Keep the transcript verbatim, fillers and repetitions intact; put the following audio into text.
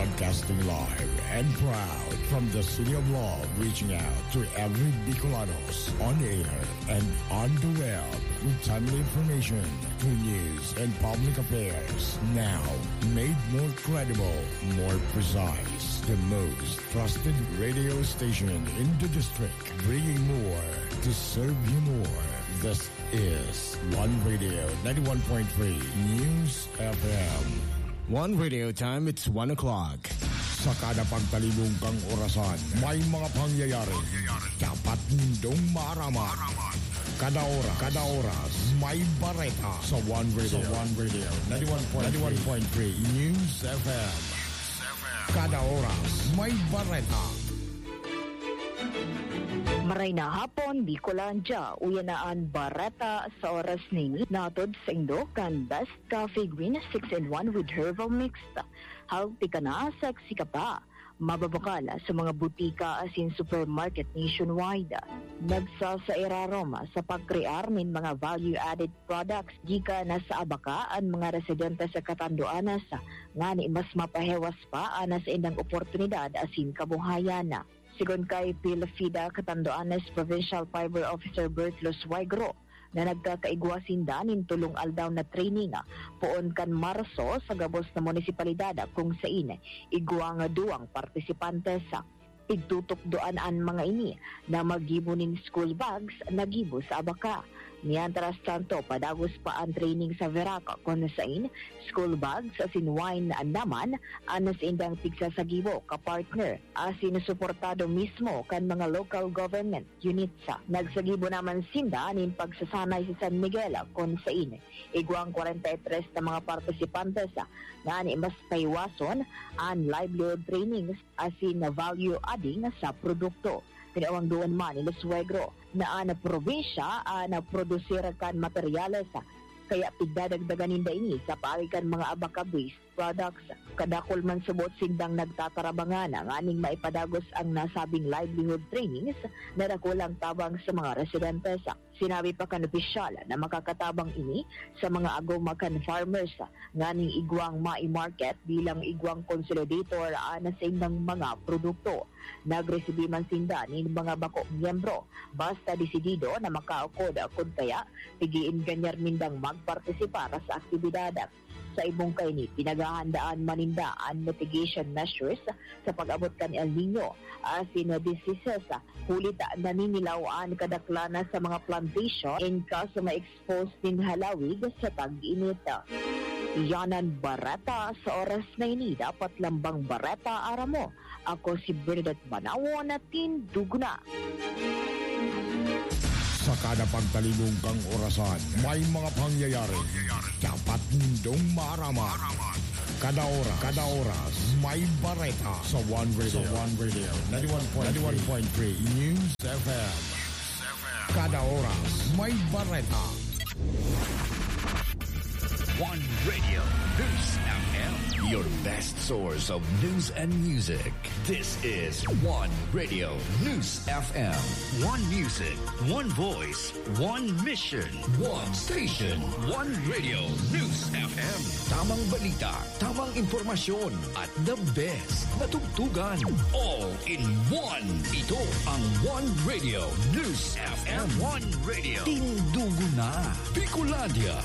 Broadcasting live and proud from the City of Love, reaching out to every Bicolanos on air and on the web with timely information, good news, and public affairs. Now, made more credible, more precise. The most trusted radio station in the district, bringing more to serve you more. This is One Radio ninety-one point three News F M. One Radio time, it's one o'clock. Sa kada pagtalibong kang orasan, may mga pangyayari dapat nindong maaraman. Kada oras, kada oras, may bareta sa One Radio. Sa One Radio, ninety-one point three News F M. Kada oras, may bareta. Maray na hapon, Bicolandia. Uya na an bareta sa oras na ini. Natod sa indo kan Best Coffee Green six-in-one with Herbal Mix. Healthy ka na, sexy ka pa. Mababakal sa mga butika asin supermarket nationwide. Nagsasairarom sa pagkrear nin mga value-added products gikan sa abaka an mga residente sa Catanduanes, ngani mas mapahewas pa an saindang oportunidad asin kabuhayan. Sigon kay Phil Fida, Catanduanes Provincial Fiber Officer Bert Los Suegro, na nagkakaigwa sinda nin tolong aldaw na training poon kan Marso sa gabos na munisipalidad kung sain igwang duwang partisipantes. Pigtutukdoan an mga ini na maggibo nin school bags na gibo sa abaka. Mientras tanto, padagos pa an training sa Verac, kun sain school bags asin wine naman an saindang pigsasagibo, kapartner asin suportado mismo kan mga local government units. Nagsagibo naman sinda nin pagsasanay sa San Miguel, kun sain igwang kwarenta y tres na mga partisipantes, ngani mas pahiwason an livelihood trainings asin value adding sa produkto. Tinawang duon man ni Los Suegro na an probinsya an produsir kan materyales, kaya pigdadagdagan ninda ini sa paagi kan mga abaka-based products. Kadakul man subot sindang nagtatarabangan nganing maipadagos ang nasabing livelihood trainings na dakulang tabang sa mga residentes. Sinabi pa kan opisyal na makakatabang ini sa mga agom kan farmers nganing igwang mai-market bilang igwang consolidator an saindang mga produkto. Nagresibi man sinda nin mga bako miyembro, basta desidido na makaukod, kun kaya, pig-iinganyar nindang magpartisipar sa aktibidad. Sa ibong kaini, pinaghahandaan man ninda an mitigation measures sa pag-abot kan El Niño asin diseases, huli ta naninilaw an kadaklan sa mga plantation in kaso ma-expose nin halawig sa tag-init. Iyan an bareta sa oras na ini. Dapat lambang bareta, aram mo. Ako si Bernadette Banawo na tindog na. Sa kada pagtalibong kang orasan, may mga pangyayari dapat nindong maaraman. Kada oras, kada oras, may bareta sa One Radio. Sa One Radio, ninety-one point three News F M. Kada oras, may bareta. One Radio News F M, your best source of news and music. This is One Radio News F M. One music, one voice, one mission, one station. One Radio News F M. Tamang balita, tamang impormasyon, at the best na tugtugan. All in one. Ito ang One Radio News F M. One Radio. Tindugo na, Bicolandia.